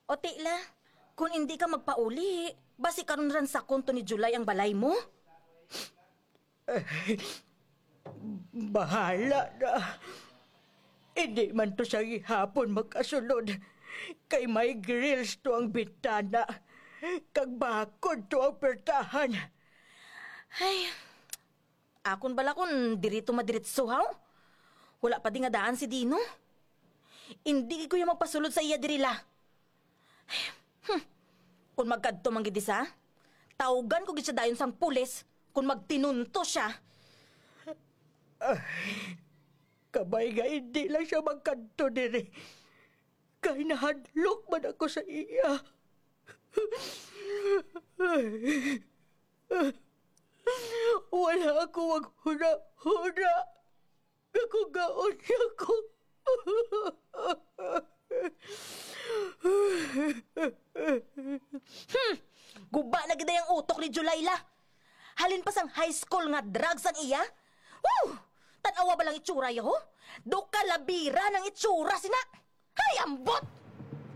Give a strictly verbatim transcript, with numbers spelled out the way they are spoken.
O Tila, kung hindi ka magpauli, basi karon ransakon to ni July ang balay mo? Bahala na. Hindi man to siya gihapon makasulod. Kay may grills to ang bintana. Kag bakod to ang pertahan. Ay, akon bala kung diri to madiritso, haw? Wala pa di nga daan si Dino. Hindi ko yung magpasulod sa iya diri la. Hmm. Kung magkadto man gid sa, tawgan ko gid siya dayon sang pulis kung magtinunto siya. Kabay nga hindi lang siya magkadto diri. Kay nahadlok man ako sa iya. Wala ako maghuna-huna nga kugaon niya ko. Hmm! Guba na gid ang utok ni Julayla. Halin pa sang high school nga drugs ang iya. Woo! Tan-awa ba lang itsura ya, ho? Do kalabira ng itsura sina. Hay, ambot!